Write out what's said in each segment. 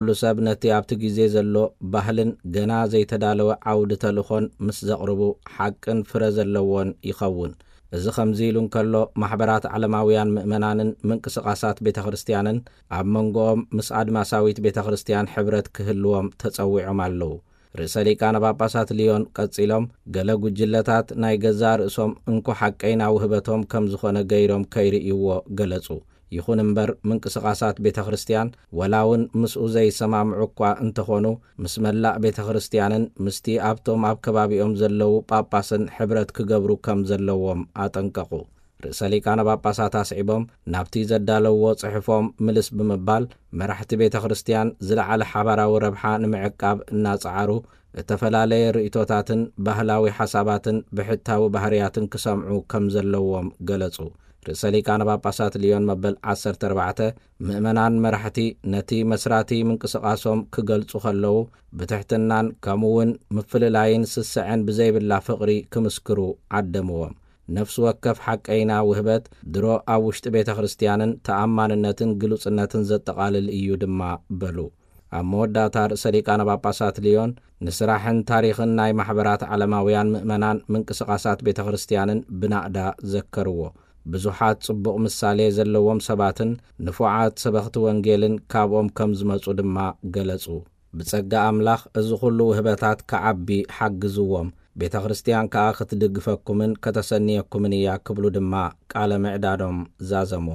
ኩሉ ሰብ ነቲ ኣብቲ ግዜ ዘሎ ባህልን ገና ዘይተዳለወ ዓውዲ ተልእኾን ምስ ዘቕርቡ፣ ሓቅን ፍረ ዘለዎን ይኸውን። እዚ ከምዚ ኢሉ እንከሎ፣ ማሕበራት ዓለማውያን ምእመናንን ምንቅስቓሳት ቤተ ክርስቲያንን ኣብ መንጎኦም ምስ ኣድማሳዊት ቤተ ክርስቲያን ሕብረት ክህልዎም ተጸዊዖም ኣለዉ። ርእሰ ሊቃነ ጳጳሳት ሊዮን ቀጺሎም፣ ገለ ጉጅለታት ናይ ገዛእ ርእሶም እንኮ ሓቀይና ውህበቶም ከም ዝኾነ ገይሮም ከይርእይዎ ገለጹ። ይኹን እምበር፣ ምንቅስቓሳት ቤተ ክርስቲያን፣ ወላ እውን ምስኡ ዘይሰማምዑ እኳ እንተኾኑ፣ ምስ መላእ ቤተ ክርስቲያንን ምስቲ ኣብቶም ኣብ ከባቢኦም ዘለዉ ጳጳስን ሕብረት ክገብሩ ከም ዘለዎም ኣጠንቀቑ። ርእሰ ሊቃነ ጳጳሳት ኣስዒቦም፣ ናብቲ ዘዳለውዎ ጽሑፎም ምልስ ብምባል፣ መራሕቲ ቤተ ክርስቲያን ዝለዓለ ሓባራዊ ረብሓ ንምዕቃብ እናጸዓሩ፣ እተፈላለየ ርእይቶታትን ባህላዊ ሓሳባትን ብሕታዊ ባህርያትን ክሰምዑ ከም ዘለዎም ገለጹ። ርእሰ ሊቃነ ጳጳሳት ሊዮን መበል ዓሰርተ ኣርባዕተ፣ ምእመናን መራሕቲ ነቲ መስራቲ ምንቅስቓሶም ክገልጹ ከለዉ፣ ብትሕትናን ከምኡውን ምፍልላይን ስስዐን ብዘይብላ ፍቕሪ ክምስክሩ ዓደምዎም። ነፍሲ ወከፍ ሓቀይና ውህበት ድሮ ኣብ ውሽጢ ቤተ ክርስቲያንን ተኣማንነትን ግሉጽነትን ዘጠቓልል እዩ ድማ በሉ። ኣብ መወዳእታ ርእሰ ሊቃነ ጳጳሳት ሊዮን፣ ንስራሕን ታሪኽን ናይ ማሕበራት ዓለማውያን ምእመናን ምንቅስቓሳት ቤተ ክርስቲያንን ብናእዳ ዘከርዎ። ብዙሓት ጽቡቕ ምሳሌ ዘለዎም ሰባትን ንፉዓት ሰበኽቲ ወንጌልን ካብኦም ከም ዝመጹ ድማ ገለጹ። ብጸጋ ኣምላኽ እዚ ኹሉ ውህበታት ክዓቢ ሓግዝዎም፣ ቤተ ክርስቲያን ከኣ ክትድግፈኩምን ከተሰንየኩምን እያ ክብሉ ድማ ቃለ ምዕዳዶም ዛዘሙ።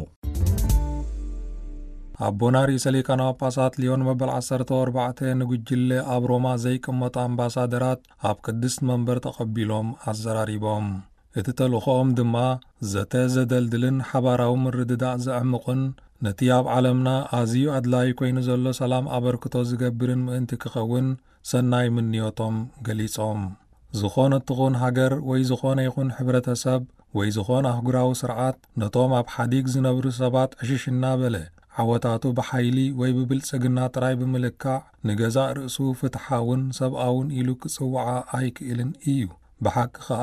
ኣቦና ርእሰ ሊቃነ ጳጳሳት ሊዮን መበል ዓሰርተ ኣርባዕተ ንጉጅለ ኣብ ሮማ ዘይቅመጡ ኣምባሳደራት ኣብ ቅድስት መንበር ተቐቢሎም ኣዘራሪቦም። እቲ ተልእኾኦም ድማ ዘተ ዘደልድልን ሓባራዊ ምርድዳእ ዘዕምቕን፣ ነቲ ኣብ ዓለምና ኣዝዩ ኣድላዪ ኮይኑ ዘሎ ሰላም ኣበርክቶ ዝገብርን ምእንቲ ክኸውን ሰናይ ምንዮቶም ገሊጾም። ዝኾነት ትኹን ሃገር ወይ ዝኾነ ይኹን ሕብረተሰብ ወይ ዝኾነ ኣህጉራዊ ስርዓት ነቶም ኣብ ሓዲግ ዝነብሩ ሰባት ዕሽሽ እናበለ ዓወታቱ ብሓይሊ ወይ ብብልጽግና ጥራይ ብምልካዕ ንገዛእ ርእሱ ፍትሓውን ሰብኣውን ኢሉ ክጽውዓ ኣይክእልን እዩ። ብሓቂ ኸኣ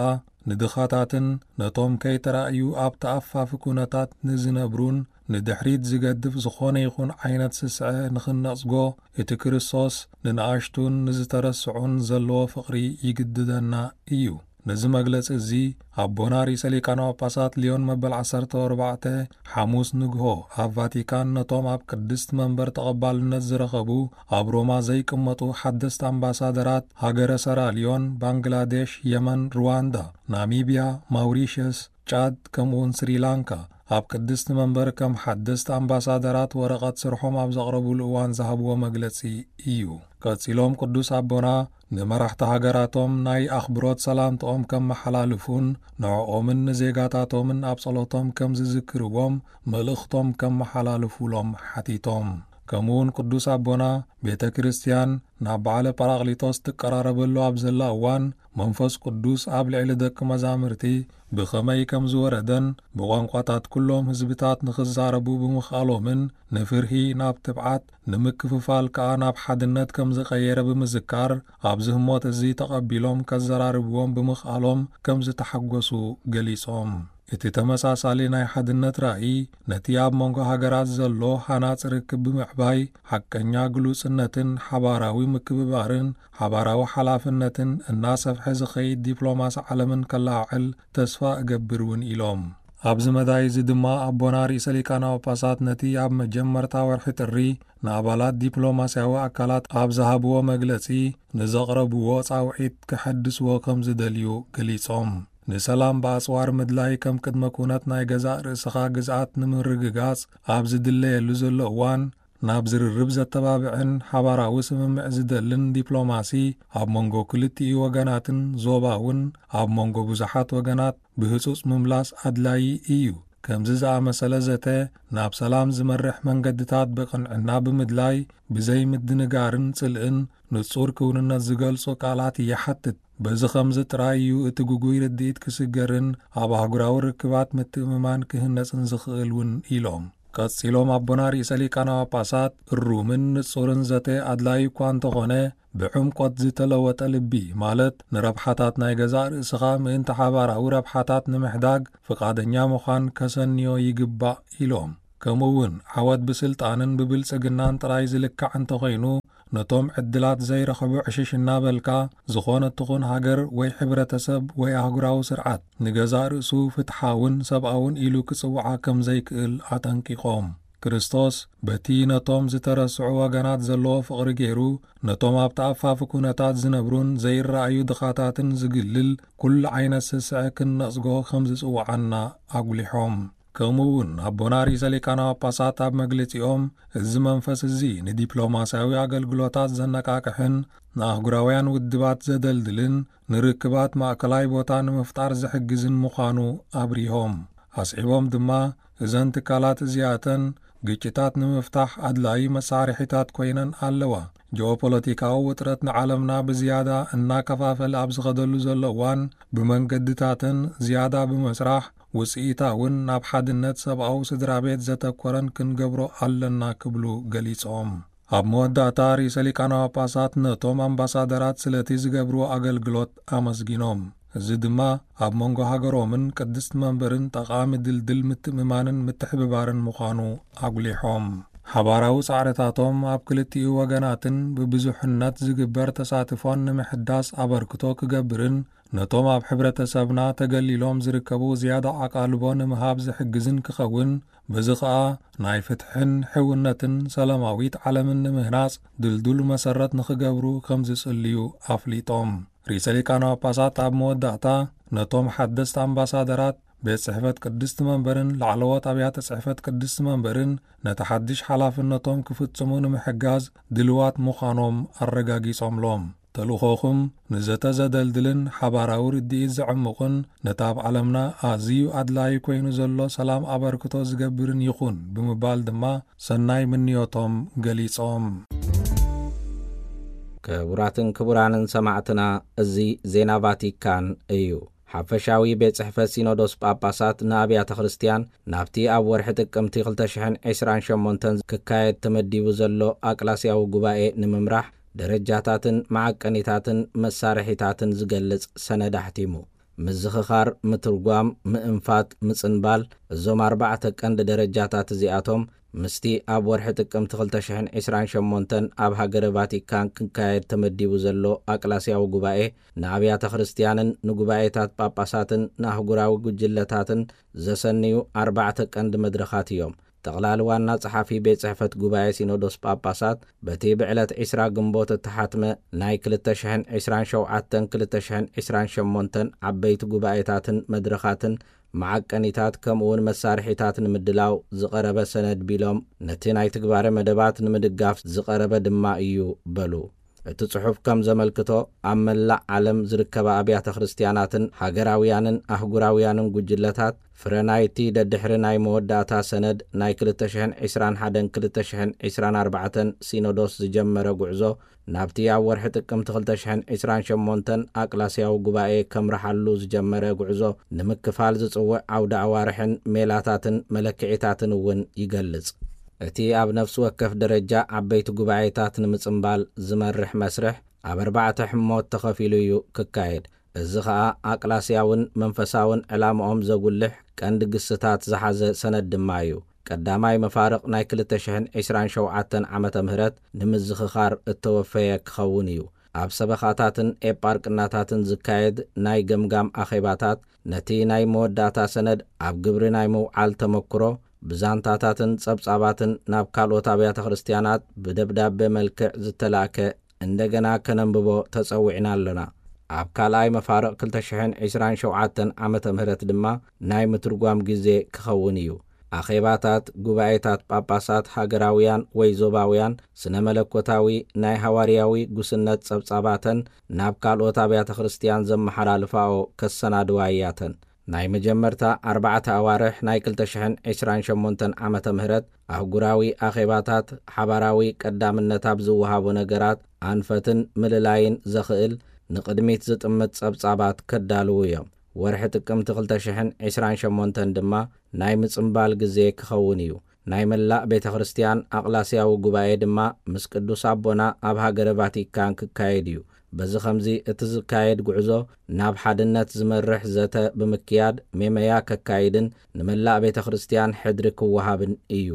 ንድኻታትን ነቶም ከይተራእዩ ኣብ ተኣፋፊ ኩነታት ንዝነብሩን ንድሕሪት ዝገድፍ ዝኾነ ይኹን ዓይነት ስስዐ ንኽንነጽጎ እቲ ክርስቶስ ንንኣሽቱን ንዝተረስዑን ዘለዎ ፍቕሪ ይግድደና እዩ። ነዚ መግለጺ እዚ ኣቦና ርእሰ ሊቃነ ጳጳሳት ሊዮን መበል ዓሰርተ ኣርባዕተ ሓሙስ ንግሆ ኣብ ቫቲካን ነቶም ኣብ ቅድስት መንበር ተቐባልነት ዝረኸቡ ኣብ ሮማ ዘይቅመጡ ሓደስቲ ኣምባሳደራት ሃገረ ሰራልዮን፣ ባንግላዴሽ፣ የመን፣ ሩዋንዳ፣ ናሚብያ፣ ማውሪሸስ፣ ጫድ ከምኡውን ስሪላንካ ኣብ ቅድስቲ መንበር ከም ሓደስቲ ኣምባሳደራት ወረቐት ስርሖም ኣብ ዘቕረቡሉ እዋን ዝሃብዎ መግለጺ እዩ። ቀጺሎም ቅዱስ ኣቦና ንመራሕቲ ሃገራቶም ናይ ኣኽብሮት ሰላምታኦም ከመሓላልፉን ንዕኦምን ንዜጋታቶምን ኣብ ጸሎቶም ከም ዝዝክርዎም መልእኽቶም ከመሓላልፉሎም ሓቲቶም። ከምኡውን ቅዱስ ኣቦና ቤተ ክርስቲያን ናብ በዓለ ጳራቅሊጦስ ትቀራረበሉ ኣብ ዘላ እዋን መንፈስ ቅዱስ ኣብ ልዕሊ ደቂ መዛሙርቲ ብኸመይ ከም ዝወረደን ብቋንቋታት ኩሎም ህዝብታት ንኽዛረቡ ብምኽኣሎምን ንፍርሂ ናብ ትብዓት ንምክፍፋል ከኣ ናብ ሓድነት ከም ዝቐየረ ብምዝካር፣ ኣብዚ ህሞት እዚ ተቐቢሎም ከዘራርብዎም ብምኽኣሎም ከም ዝተሓጎሱ ገሊጾም። እቲ ተመሳሳሊ ናይ ሓድነት ራእይ ነቲ ኣብ መንጎ ሃገራት ዘሎ ሃናጺ ርክብ ብምዕባይ፣ ሓቀኛ ግሉጽነትን ሓባራዊ ምክብባርን ሓባራዊ ሓላፍነትን እናሰፍሐ ዝኸይድ ዲፕሎማሲ ዓለምን ከለዓዕል ተስፋ እገብር እውን ኢሎም። ኣብዚ መዳይ እዚ ድማ ኣቦና ርእሰ ሊቃነ ጳጳሳት ነቲ ኣብ መጀመርታ ወርሒ ጥሪ ንኣባላት ዲፕሎማስያዊ ኣካላት ኣብ ዝሃብዎ መግለጺ፣ ንዘቕረብዎ ጻውዒት ከሐድስዎ ከም ዝደልዩ ገሊጾም። ንሰላም ብኣጽዋር ምድላይ ከም ቅድመ ኩነት ናይ ገዛእ ርእስኻ ግዝኣት ንምርግጋጽ ኣብ ዝድለየሉ ዘሎ እዋን፣ ናብ ዝርርብ ዘተባብዕን ሓባራዊ ስምምዕ ዝደልን ዲፕሎማሲ ኣብ መንጎ ክልቲኡ ወገናትን ዞባውን ኣብ መንጎ ብዙሓት ወገናት ብህጹጽ ምምላስ ኣድላዪ እዩ። ከምዚ ዝኣመሰለ ዘተ ናብ ሰላም ዝመርሕ መንገድታት ብቕንዕና ብምድላይ፣ ብዘይ ምድንጋርን ጽልእን ንጹር ክውንነት ዝገልጹ ቃላት ይሓትት። በዚ ኸምዚ ጥራይ እዩ እቲ ግጉይ ርድኢት ክስገርን ኣብ ኣህጉራዊ ርክባት ምትእምማን ክህነጽን ዝኽእል እውን ኢሎም። ቀጺሎም ኣቦና ርእሰ ሊቃነ ጳጳሳት፣ እሩምን ንጹርን ዘተ ኣድላዪ እኳ እንተኾነ፣ ብዕምቆት ዝተለወጠ ልቢ፣ ማለት ንረብሓታት ናይ ገዛእ ርእስኻ ምእንቲ ሓባራዊ ረብሓታት ንምሕዳግ ፍቓደኛ ምዃን ከሰንዮ ይግባእ ኢሎም። ከምኡ እውን ዓወት ብስልጣንን ብብልጽግናን ጥራይ ዝልካዕ እንተኾይኑ፣ ነቶም ዕድላት ዘይረኸቡ ዕሽሽ እናበልካ፣ ዝኾነት ትኹን ሃገር ወይ ሕብረተሰብ ወይ ኣህጉራዊ ስርዓት ንገዛእ ርእሱ ፍትሓውን ሰብኣውን ኢሉ ክጽውዓ ከም ዘይክእል ኣጠንቂቖም። ክርስቶስ በቲ ነቶም ዝተረስዑ ወገናት ዘለዎ ፍቕሪ ገይሩ፣ ነቶም ኣብቲ ኣፋፊ ኩነታት ዝነብሩን ዘይረኣዩ ድኻታትን ዝግልል ኩሉ ዓይነት ስስዐ ክንነጽጎ ከም ዝጽውዓና ኣጉሊሖም። ከምኡ እውን ኣቦና ርእሰ ሊቃነ ጳጳሳት ኣብ መግለጺኦም፣ እዚ መንፈስ እዚ ንዲፕሎማስያዊ ኣገልግሎታት ዘነቃቅሕን ንኣህጉራውያን ውድባት ዘደልድልን ንርክባት ማእከላይ ቦታ ንምፍጣር ዝሕግዝን ምዃኑ ኣብሪሆም። ኣስዒቦም ድማ፣ እዘን ትካላት እዚኣተን ግጭታት ንምፍታሕ ኣድላዪ መሳርሒታት ኮይነን ኣለዋ። ጂኦፖለቲካዊ ውጥረት ንዓለምና ብዝያዳ እናከፋፈለ ኣብ ዝኸደሉ ዘሎ እዋን፣ ብመንገድታተን ዝያዳ ብምስራሕ፣ ውጽኢታውን ናብ ሓድነት ሰብኣዊ ስድራ ቤት ዘተኮረን ክንገብሮ ኣለና ክብሉ ገሊጾም። ኣብ መወዳእታ ርእሰ ሊቃነ ጳጳሳት ነቶም ኣምባሳደራት ስለቲ ዝገብርዎ ኣገልግሎት ኣመስጊኖም። እዚ ድማ ኣብ መንጎ ሃገሮምን ቅድስት መንበርን ጠቓሚ ድልድል ምትእምማንን ምትሕብባርን ምዃኑ ኣጉሊሖም። ሓባራዊ ጻዕርታቶም ኣብ ክልቲኡ ወገናትን ብብዙሕነት ዝግበር ተሳትፎን ንምሕዳስ ኣበርክቶ ክገብርን ነቶም ኣብ ሕብረተሰብና ተገሊሎም ዝርከቡ ዝያዳ ኣቓልቦ ንምሃብ ዝሕግዝን ክኸውን፣ በዚ ኸኣ ናይ ፍትሕን ሕውነትን ሰላማዊት ዓለምን ንምህናጽ ድልዱል መሰረት ንኽገብሩ ከም ዝጽልዩ ኣፍሊጦም። ርእሰ ሊቃነ ጳጳሳት ኣብ መወዳእታ ነቶም ሓደስቲ ኣምባሳደራት ቤት ጽሕፈት ቅድስቲ መንበርን ላዕለዎት ኣብያተ ጽሕፈት ቅድስቲ መንበርን ነቲ ሓድሽ ሓላፍነቶም ክፍጽሙ ንምሕጋዝ ድልዋት ምዃኖም ኣረጋጊጾምሎም። ተልእኾኹም ንዘተ ዘደልድልን ሓባራዊ ርድኢት ዘዕምቑን ነቲ ኣብ ዓለምና ኣዝዩ ኣድላዪ ኮይኑ ዘሎ ሰላም ኣበርክቶ ዝገብርን ይኹን ብምባል ድማ ሰናይ ምንዮቶም ገሊጾም። ክቡራትን ክቡራንን ሰማዕትና፣ እዚ ዜና ቫቲካን እዩ። ሓፈሻዊ ቤት ጽሕፈት ሲኖዶስ ጳጳሳት ንኣብያተ ክርስቲያን ናብቲ ኣብ ወርሒ ጥቅምቲ ክልተ ሽሕን ዕስራን ሸሞንተን ክካየድ ተመዲቡ ዘሎ ኣቅላስያዊ ጉባኤ ንምምራሕ ደረጃታትን መዓቀኒታትን መሳርሒታትን ዝገልጽ ሰነድ ኣሕቲሙ። ምዝኽኻር፣ ምትርጓም፣ ምእንፋት፣ ምጽንባል፣ እዞም ኣርባዕተ ቀንዲ ደረጃታት እዚኣቶም ምስቲ ኣብ ወርሒ ጥቅምቲ ክልተ ሽሕን ዕስራን ሸሞንተን ኣብ ሃገረ ቫቲካን ክካየድ ተመዲቡ ዘሎ ኣቅላስያዊ ጉባኤ ንኣብያተ ክርስቲያንን ንጉባኤታት ጳጳሳትን ንኣህጉራዊ ጉጅለታትን ዘሰንዩ ኣርባዕተ ቀንዲ መድረኻት እዮም። ጠቕላሊ ዋና ጸሓፊ ቤት ጽሕፈት ጉባኤ ሲኖዶስ ጳጳሳት በቲ ብዕለት ዕስራ ግንቦት እተሓትመ ናይ ክልተ ሽሕን ዕስራን ሸውዓተን ክልተ ሽሕን ዕስራን ሸሞንተን ዓበይቲ ጉባኤታትን መድረኻትን መዓቀኒታት ከምኡውን መሳርሒታት ንምድላው ዝቐረበ ሰነድ ቢሎም፣ ነቲ ናይ ትግባረ መደባት ንምድጋፍ ዝቐረበ ድማ እዩ በሉ። እቲ ጽሑፍ ከም ዘመልክቶ፣ ኣብ መላእ ዓለም ዝርከባ ኣብያተ ክርስቲያናትን ሃገራውያንን ኣህጉራውያንን ጉጅለታት፣ ፍረ ናይቲ ደድሕሪ ናይ መወዳእታ ሰነድ ናይ ክልተ ሽሕን ዕስራን ሓደን ክልተ ሽሕን ዕስራን ኣርባዕተን ሲኖዶስ ዝጀመረ ጉዕዞ፣ ናብቲ ኣብ ወርሒ ጥቅምቲ ክልተ ሽሕን ዕስራን ሸሞንተን ኣቅላስያዊ ጉባኤ ከምርሓሉ ዝጀመረ ጉዕዞ ንምክፋል ዝጽውዕ ዓውደ ኣዋርሕን ሜላታትን መለክዒታትን እውን ይገልጽ። እቲ ኣብ ነፍሲ ወከፍ ደረጃ ዓበይቲ ጉባኤታት ንምጽንባል ዝመርሕ መስርሕ ኣብ ኣርባዕተ ሕሞት ተኸፊሉ እዩ ክካየድ። እዚ ኸኣ ኣቅላስያውን መንፈሳውን ዕላምኦም ዘጉልሕ ቀንዲ ግስታት ዝሓዘ ሰነድ ድማ እዩ። ቀዳማይ መፋርቕ ናይ ክልተ ሽሕን ዕስራን ሸውዓተን ዓመተ ምህረት ንምዝኽኻር እተወፈየ ክኸውን እዩ። ኣብ ሰበኻታትን ኤጳርቅናታትን ዝካየድ ናይ ገምጋም ኣኼባታት፣ ነቲ ናይ መወዳእታ ሰነድ ኣብ ግብሪ ናይ ምውዓል ተመክሮ፣ ብዛንታታትን ጸብጻባትን ናብ ካልኦት ኣብያተ ክርስቲያናት ብደብዳቤ መልክዕ ዝተላእከ እንደገና ከነንብቦ ተጸዊዕና ኣሎና። ኣብ ካልኣይ መፋርቕ ክልተ ሽሕን ዕስራን ሸውዓተን ዓመተ ምህረት ድማ ናይ ምትርጓም ግዜ ክኸውን እዩ። ኣኼባታት፣ ጉባኤታት ጳጳሳት ሃገራውያን ወይ ዞባውያን፣ ስነ መለኮታዊ፣ ናይ ሃዋርያዊ ጉስነት ጸብጻባተን ናብ ካልኦት ኣብያተ ክርስቲያን ዘመሓላልፋኦ ከሰናድዋ እያተን። ናይ መጀመርታ ኣርባዕተ ኣዋርሕ ናይ ክልተ ሽሕን ዕስራን ሸሞንተን ዓመተ ምህረት ኣህጉራዊ ኣኼባታት፣ ሓባራዊ ቀዳምነት ኣብ ዝወሃቦ ነገራት ኣንፈትን ምልላይን ዘኽእል ንቕድሚት ዝጥምት ጸብጻባት ከዳልዉ እዮም። ወርሒ ጥቅምቲ ክልተ ሽሕን ዕስራን ሸሞንተን ድማ ናይ ምጽንባል ግዜ ክኸውን እዩ። ናይ መላእ ቤተ ክርስቲያን ኣቕላስያዊ ጉባኤ ድማ ምስ ቅዱስ ኣቦና ኣብ ሃገረ ቫቲካን ክካየድ እዩ። በዚ ኸምዚ እቲ ዝካየድ ጉዕዞ ናብ ሓድነት ዝመርሕ ዘተ ብምክያድ ሜመያ ከካይድን ንመላእ ቤተ ክርስቲያን ሕድሪ ክወሃብን እዩ።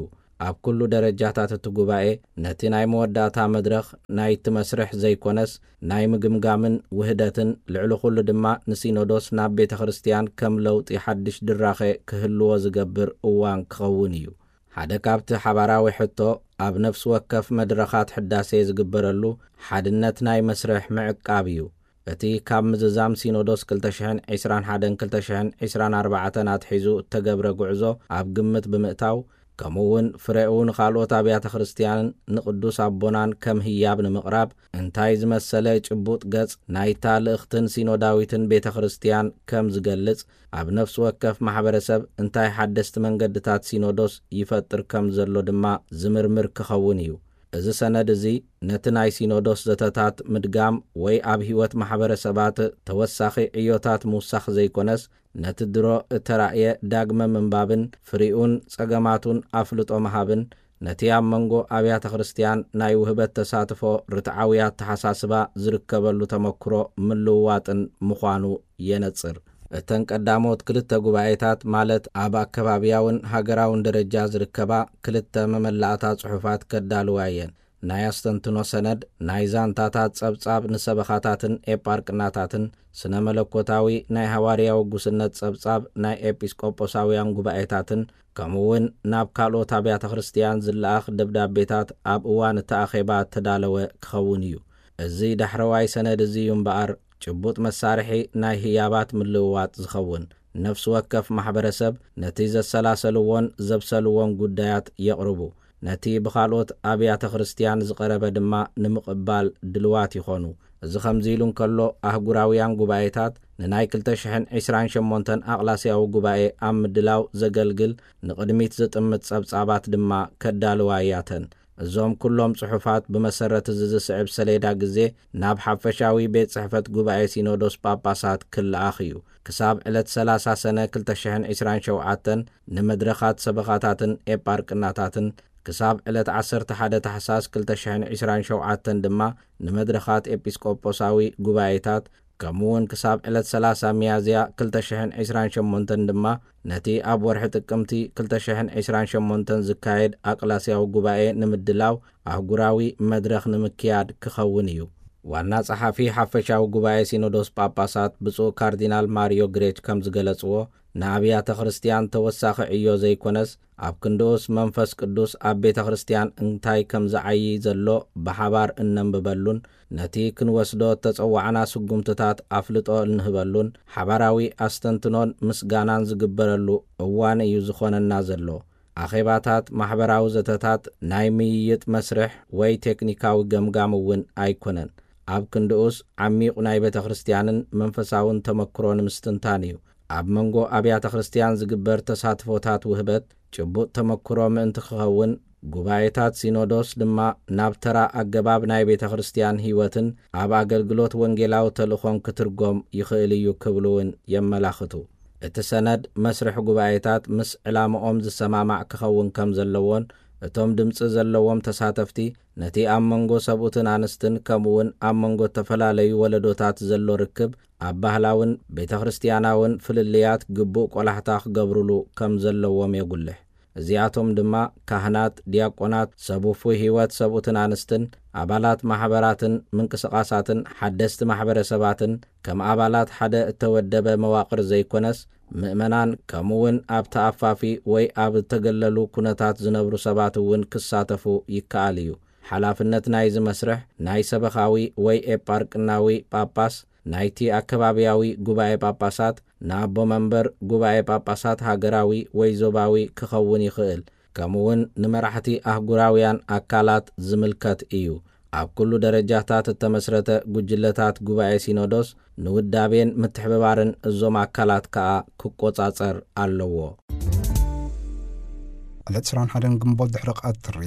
ኣብ ኩሉ ደረጃታት እቲ ጉባኤ ነቲ ናይ መወዳእታ መድረኽ ናይቲ መስርሕ ዘይኮነስ ናይ ምግምጋምን ውህደትን፣ ልዕሊ ኩሉ ድማ ንሲኖዶስ ናብ ቤተ ክርስቲያን ከም ለውጢ ሓድሽ ድራኸ ክህልዎ ዝገብር እዋን ክኸውን እዩ። ሓደ ካብቲ ሓባራዊ ሕቶ ኣብ ነፍሲ ወከፍ መድረኻት ሕዳሴ ዝግበረሉ ሓድነት ናይ መስርሕ ምዕቃብ እዩ። እቲ ካብ ምዝዛም ሲኖዶስ ክልተ ሽሕን ዕስራን ሓደን ክልተ ሽሕን ዕስራን ኣርባዕተን ኣትሒዙ እተገብረ ጉዕዞ ኣብ ግምት ብምእታው፣ ከምኡ እውን ፍሬኡ ንኻልኦት ኣብያተ ክርስቲያንን ንቅዱስ ኣቦናን ከም ህያብ ንምቕራብ እንታይ ዝመሰለ ጭቡጥ ገጽ ናይታ ልእኽትን ሲኖዳዊትን ቤተ ክርስቲያን ከም ዝገልጽ፣ ኣብ ነፍሲ ወከፍ ማሕበረሰብ እንታይ ሓደስቲ መንገድታት ሲኖዶስ ይፈጥር ከም ዘሎ ድማ ዝምርምር ክኸውን እዩ። እዚ ሰነድ እዚ ነቲ ናይ ሲኖዶስ ዘተታት ምድጋም ወይ ኣብ ህይወት ማሕበረሰባት ተወሳኺ ዕዮታት ምውሳኽ ዘይኮነስ፣ ነቲ ድሮ እተራእየ ዳግመ ምንባብን ፍሪኡን ጸገማቱን ኣፍልጦ ምሃብን፣ ነቲ ኣብ መንጎ ኣብያተ ክርስቲያን ናይ ውህበት ተሳትፎ ርትዓዊ ኣተሓሳስባ ዝርከበሉ ተመክሮ ምልውዋጥን ምዃኑ የነጽር። እተን ቀዳሞት ክልተ ጉባኤታት፣ ማለት ኣብ ኣከባብያውን ሃገራውን ደረጃ ዝርከባ ክልተ መመላእታ ጽሑፋት ከዳልዋ እየን። ናይ ኣስተንትኖ ሰነድ፣ ናይ ዛንታታት ጸብጻብ ንሰበኻታትን ኤጳርቅናታትን፣ ስነ መለኮታዊ ናይ ሃዋርያዊ ጉስነት ጸብጻብ ናይ ኤጲስቆጶሳውያን ጉባኤታትን፣ ከምኡ እውን ናብ ካልኦት ኣብያተ ክርስቲያን ዝለኣኽ ደብዳቤታት ኣብ እዋን እቲ ኣኼባ እተዳለወ ክኸውን እዩ። እዚ ዳሕረዋይ ሰነድ እዚ እዩ እምበኣር ጭቡጥ መሳርሒ ናይ ህያባት ምልውዋጥ ዝኸውን። ነፍሲ ወከፍ ማሕበረሰብ ነቲ ዘሰላሰልዎን ዘብሰልዎን ጉዳያት የቕርቡ። ነቲ ብኻልኦት ኣብያተ ክርስቲያን ዝቐረበ ድማ ንምቕባል ድልዋት ይኾኑ። እዚ ከምዚ ኢሉ እንከሎ፣ ኣህጉራውያን ጉባኤታት ንናይ ክልተ ሽሕን ዕስራን ሸሞንተን ኣቕላስያዊ ጉባኤ ኣብ ምድላው ዘገልግል ንቕድሚት ዝጥምት ጸብጻባት ድማ ከዳልዋ እያተን። እዞም ኩሎም ጽሑፋት ብመሰረት እዚ ዝስዕብ ሰሌዳ ግዜ ናብ ሓፈሻዊ ቤት ጽሕፈት ጉባኤ ሲኖዶስ ጳጳሳት ክለኣኽ እዩ። ክሳብ ዕለት ሰላሳ ሰነ ክልተ ሽሕን ዕስራን ሸውዓተን ንመድረኻት ሰበኻታትን ኤጳርቅናታትን፣ ክሳብ ዕለት ዓሰርተ ሓደ ታሕሳስ ክልተ ሽሕን ዕስራን ሸውዓተን ድማ ንመድረኻት ኤጲስቆጶሳዊ ጉባኤታት፣ ከምኡ እውን ክሳብ ዕለት ሰላሳ ሚያዝያ ክልተ ሽሕን ዕስራን ሸሞንተን ድማ ነቲ ኣብ ወርሒ ጥቅምቲ ክልተ ሽሕን ዕስራን ሸሞንተን ዝካየድ ኣቅላስያዊ ጉባኤ ንምድላው ኣህጉራዊ መድረኽ ንምክያድ ክኸውን እዩ። ዋና ጸሓፊ ሓፈሻዊ ጉባኤ ሲኖዶስ ጳጳሳት ብፁዕ ካርዲናል ማሪዮ ግሬች ከም ዝገለጽዎ፣ ንኣብያተ ክርስቲያን ተወሳኺ ዕዮ ዘይኮነስ፣ ኣብ ክንድኡስ መንፈስ ቅዱስ ኣብ ቤተ ክርስቲያን እንታይ ከም ዝዓዪ ዘሎ ብሓባር እነንብበሉን፣ ነቲ ክንወስዶ እተጸዋዕና ስጉምትታት ኣፍልጦ እንህበሉን፣ ሓባራዊ ኣስተንትኖን ምስጋናን ዝግበረሉ እዋን እዩ ዝኾነና ዘሎ። ኣኼባታት፣ ማሕበራዊ ዘተታት ናይ ምይይጥ መስርሕ ወይ ቴክኒካዊ ገምጋም እውን ኣይኮነን። ኣብ ክንድኡስ ዓሚቕ ናይ ቤተ ክርስቲያንን መንፈሳውን ተመክሮ ንምስትንታን እዩ። ኣብ መንጎ ኣብያተ ክርስቲያን ዝግበር ተሳትፎታት ውህበት ጭቡጥ ተመክሮ ምእንቲ ክኸውን፣ ጉባኤታት ሲኖዶስ ድማ ናብ ተራ ኣገባብ ናይ ቤተ ክርስቲያን ህይወትን ኣብ ኣገልግሎት ወንጌላዊ ተልእኾን ክትርጎም ይኽእል እዩ ክብሉ እውን የመላኽቱ። እቲ ሰነድ መስርሕ ጉባኤታት ምስ ዕላምኦም ዝሰማማዕ ክኸውን ከም ዘለዎን፣ እቶም ድምጺ ዘለዎም ተሳተፍቲ ነቲ ኣብ መንጎ ሰብኡትን ኣንስትን ከምኡውን ኣብ መንጎ እተፈላለዩ ወለዶታት ዘሎ ርክብ ኣብ ባህላውን ቤተ ክርስቲያናውን ፍልልያት ግቡእ ቆላሕታ ክገብሩሉ ከም ዘለዎም የጉልሕ። እዚኣቶም ድማ ካህናት፣ ዲያቆናት፣ ሰብ ውፉይ ህይወት ሰብኡትን ኣንስትን፣ ኣባላት ማሕበራትን ምንቅስቓሳትን ሓደስቲ ማሕበረሰባትን፣ ከም ኣባላት ሓደ እተወደበ መዋቕር ዘይኮነስ፣ ምእመናን ከምኡውን ኣብ ተኣፋፊ ወይ ኣብ እተገለሉ ኩነታት ዝነብሩ ሰባት እውን ክሳተፉ ይከኣል እዩ። ሓላፍነት ናይዚ መስርሕ ናይ ሰበኻዊ ወይ ኤጳርቅናዊ ጳጳስ፣ ናይቲ ኣከባብያዊ ጉባኤ ጳጳሳት፣ ንኣቦ መንበር ጉባኤ ጳጳሳት ሃገራዊ ወይ ዞባዊ ክኸውን ይኽእል። ከምኡውን ንመራሕቲ ኣህጉራውያን ኣካላት ዝምልከት እዩ። ኣብ ኩሉ ደረጃታት እተመስረተ ጉጅለታት ጉባኤ ሲኖዶስ ንውዳቤን ምትሕብባርን እዞም ኣካላት ከኣ ክቆጻጸር ኣለዎ። ዕለት ዕስራን ሓደን ግንቦት ድሕሪ ቀትሪ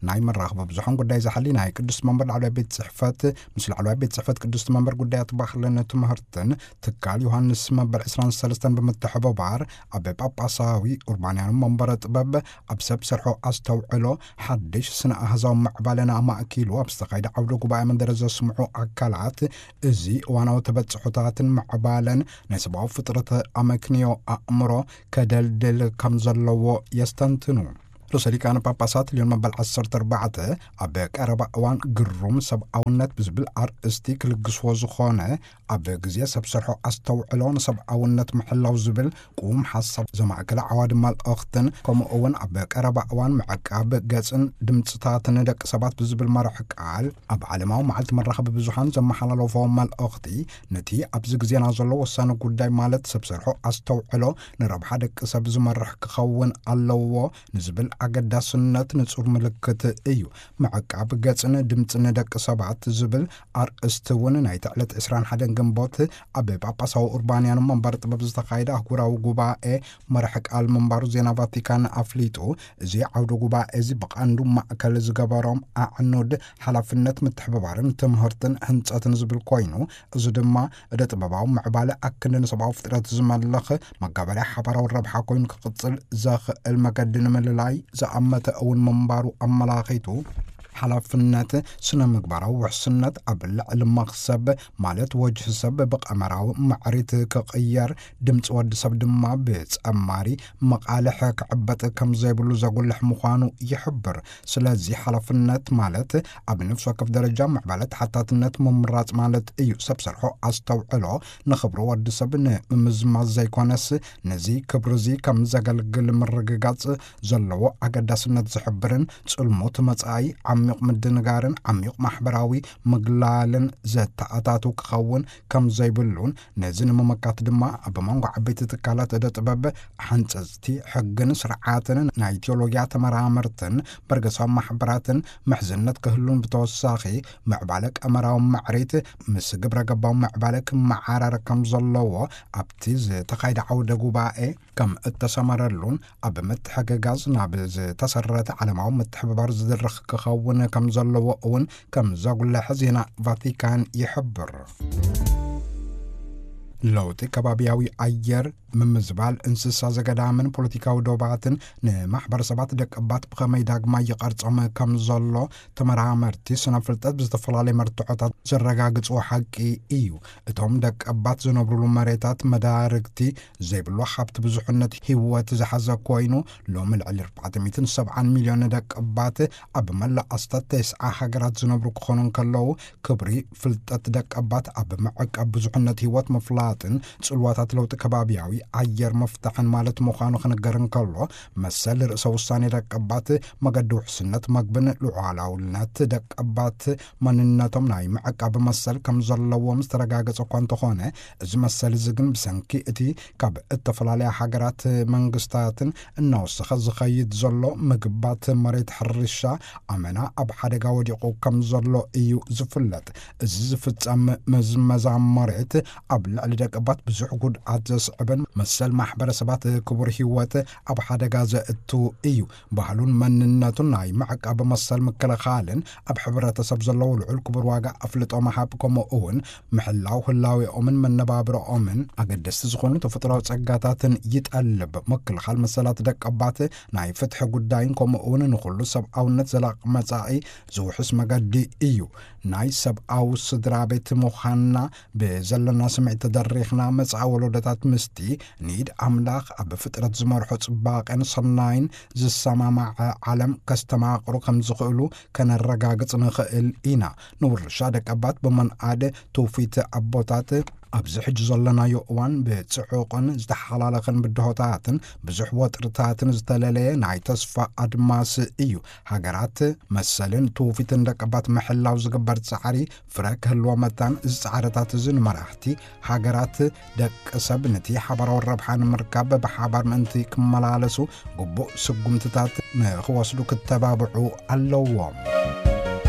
ናይ መራኽቢ ብዙሓን ጉዳይ ዝሓሊ ናይ ቅዱስ መንበር ላዕለዋይ ቤት ጽሕፈት፣ ምስ ላዕለዋይ ቤት ጽሕፈት ቅዱስ መንበር ጉዳያት ባህልን ትምህርትን ትካል ዮሃንስ መበል ዕስራን ሰለስተን ብምትሕብባር፣ ኣብ ጳጳሳዊ ኡርባንያኑ መንበረ ጥበብ ኣብ ሰብ ሰርሖ ኣስተውዕሎ ሓድሽ ስነ ኣህዛዊ ምዕባለና ኣማእኪሉ ኣብ ዝተኻየደ ዓውደ ጉባኤ መደረ ዘስምዑ ኣካላት፣ እዚ እዋናዊ ተበጽሖታትን ምዕባለን ናይ ሰብኣዊ ፍጥረት ኣመክንዮ ኣእምሮ ከደልድል ከም ዘለዎ የስተንትኑ። ርእሰ ሊቃነ ጳጳሳት ልዮን መበል ዓሰርተ ኣርባዕተ ኣብ ቀረባ እዋን ግሩም ሰብኣውነት ብዝብል ኣርእስቲ ክልግስዎ ዝኾነ፣ ኣብ ግዜ ሰብ ሰርሖ ኣስተውዕሎ ንሰብኣውነት ምሕላው ዝብል ቁም ሓሳብ ዘማእከለ ዓዋዲ መልእኽትን፣ ከምኡ እውን ኣብ ቀረባ እዋን ምዕቃብ ገጽን ድምጽታትን ደቂ ሰባት ብዝብል መርሕ ቃል ኣብ ዓለማዊ መዓልቲ መራኸቢ ብዙሓን ዘመሓላለፎ መልእኽቲ፣ ነቲ ኣብዚ ግዜና ዘሎ ወሳኒ ጉዳይ፣ ማለት ሰብ ሰርሖ ኣስተውዕሎ ንረብሓ ደቂ ሰብ ዝመርሕ ክኸውን ኣለዎ ንዝብል ኣገዳስነት ንጹር ምልክት እዩ። ምዕቃብ ገጽን ድምጽን ደቂ ሰባት ዝብል ኣርእስቲ እውን ናይቲ ዕለት ዕስራን ሓደን ግንቦት ኣብ ጳጳሳዊ ኡርባንያኑ መንበር ጥበብ ዝተኻየደ ኣህጉራዊ ጉባኤ መርሒ ቃል ምንባሩ ዜና ቫቲካን ኣፍሊጡ። እዚ ዓውደ ጉባኤ እዚ ብቐንዱ ማእከል ዝገበሮም ኣዕኑድ ሓላፍነት፣ ምትሕብባርን ትምህርትን ህንጸትን ዝብል ኮይኑ፣ እዚ ድማ እደ ጥበባዊ ምዕባለ ኣክንዲ ንሰብኣዊ ፍጥረት ዝመልኽ መጋበርያ ሓባራዊ ረብሓ ኮይኑ ክቕጽል ዘኽእል መገዲ ንምልላይ ዝኣመተ እውን ምንባሩ ኣመላኺቱ፣ ሓላፍነት ስነ ምግባራዊ ውሕስነት ኣብ ልዕሊ መኽሰብ፣ ማለት ወጅህ ሰብ ብቐመራዊ ማዕሪት ክቕየር፣ ድምፂ ወዲ ሰብ ድማ ብጸማሪ መቓልሕ ክዕበጥ ከም ዘይብሉ ዘጉልሕ ምዃኑ ይሕብር። ስለዚ ሓላፍነት ማለት ኣብ ነፍሲ ወከፍ ደረጃ ምዕባለ ተሓታትነት ምምራጽ ማለት እዩ። ሰብ ሰርሖ ኣስተውዕሎ ንኽብሪ ወዲ ሰብ ንምምዝማዝ ዘይኮነስ፣ ነዚ ክብሪ እዚ ከም ዘገልግል ምርግጋጽ ዘለዎ ኣገዳስነት ዝሕብርን፣ ጽልሙት መጻኢ ዓሚቕ ምድንጋርን ዓሚቕ ማሕበራዊ ምግላልን ዘተኣታቱ ክኸውን ከም ዘይብሉን፣ ነዚ ንምምካት ድማ ኣብ መንጎ ዓበይቲ ትካላት እደ ጥበብ፣ ሓንጸጽቲ ሕግን ስርዓትን፣ ናይ ቴዎሎጊያ ተመራመርትን በርገሳዊ ማሕበራትን ምሕዝነት ክህሉን፣ ብተወሳኺ ምዕባለ ቀመራዊ ማዕሪት ምስ ግብረ ገባዊ ምዕባለ ክመዓራረ ከም ዘለዎ ኣብቲ ዝተኻየደ ዓውደ ጉባኤ ከም እተሰመረሉን፣ ኣብ ምትሕግጋዝ ናብ ዝተሰረተ ዓለማዊ ምትሕብባር ዝድርኽ ክኸውን ከም ዘለዎ እውን ከም ዘጉልሐ ዜና ቫቲካን ይሕብር። ለውጢ ከባቢያዊ ኣየር፣ ምምዝባል እንስሳ ዘገዳምን ፖለቲካዊ ዶባትን ንማሕበረሰባት ደቀባት ብኸመይ ዳግማይ ይቐርጾም ከም ዘሎ ተመራመርቲ ስነ ፍልጠት ብዝተፈላለየ መርትዖታት ዘረጋግጽዎ ሓቂ እዩ። እቶም ደቀባት ዝነብሩሉ መሬታት መዳርግቲ ዘይብሉ ሃብቲ ብዙሕነት ህይወት ዝሓዘ ኮይኑ፣ ሎሚ ልዕሊ ኣርባዕተ ሚእትን ሰብዓን ሚልዮን ደቀባት ኣብ መላእ ኣስታት ተስዓ ሃገራት ዝነብሩ ክኾኑ እንከለዉ፣ ክብሪ ፍልጠት ደቀባት ኣብ ምዕቃብ ብዙሕነት ህይወት ምፍላጥን ጽልዋታት ለውጢ ከባቢያዊ ኣየር ምፍታሕን ማለት ምዃኑ ክንገር እንከሎ፣ መሰል ርእሰ ውሳኔ ደቀባት፣ መገዲ ውሕስነት መግብን ሉዓላውነት ደቀባት፣ መንነቶም ናይ ምዕቃብ መሰል ከም ዘለዎም ዝተረጋገጸ እኳ እንተኾነ፣ እዚ መሰል እዚ ግን ብሰንኪ እቲ ካብ እተፈላለያ ሃገራት መንግስታትን እናወሰኸ ዝኸይድ ዘሎ ምግባት መሬት ሕርሻ ኣመና ኣብ ሓደጋ ወዲቑ ከም ዘሎ እዩ ዝፍለጥ። እዚ ዝፍጸም ምዝመዛ መሬት ኣብ ልዕሊ ደቀባት ብዙሕ ጉድኣት ዘስዕብን መሰል ማሕበረሰባት ክቡር ህይወት ኣብ ሓደጋ ዘእቱ እዩ። ባህሉን መንነቱን ናይ ምዕቃብ መሰል ምክልኻልን ኣብ ሕብረተሰብ ዘለዎ ልዑል ክቡር ዋጋ ኣፍልጦ ምሃብ፣ ከምኡ እውን ምሕላው ህላዌኦምን መነባብሮኦምን ኣገደስቲ ዝኾኑ ተፈጥሮኣዊ ጸጋታትን ይጠልብ። ምክልኻል መሰላት ደቀባት ናይ ፍትሒ ጉዳይን ከምኡ እውን ንኹሉ ሰብኣውነት ዘላቂ መጻኢ ዝውሕስ መገዲ እዩ። ናይ ሰብኣዊ ስድራ ቤት ምዃንና ብዘለና ስምዒት ተደሪኽና፣ መጻኢ ወለዶታት ምስቲ ንኢድ ኣምላኽ ኣብ ፍጥረት ዝመርሖ ጽባቐን ሰናይን ዝሰማማዐ ዓለም ከስተማቕሩ ከም ዝኽእሉ ከነረጋግጽ ንኽእል ኢና። ንውርሻ ደቀባት ብመንኣድ ትውፊት ኣቦታት ኣብዚ ሕጂ ዘለናዮ እዋን ብጽዑቕን ዝተሓላለኸን ብድሆታትን ብዙሕ ወጥርታትን ዝተለለየ ናይ ተስፋ ኣድማስ እዩ። ሃገራት መሰልን ትውፊትን ደቀባት ምሕላው ዝግበር ጻዕሪ ፍረ ክህልዎ መታን፣ እዚ ጻዕርታት እዚ ንመራሕቲ ሃገራት፣ ደቂ ሰብ ነቲ ሓባራዊ ረብሓ ንምርካብ ብሓባር ምእንቲ ክመላለሱ ግቡእ ስጉምትታት ንኽወስዱ ክተባብዑ ኣለዎም።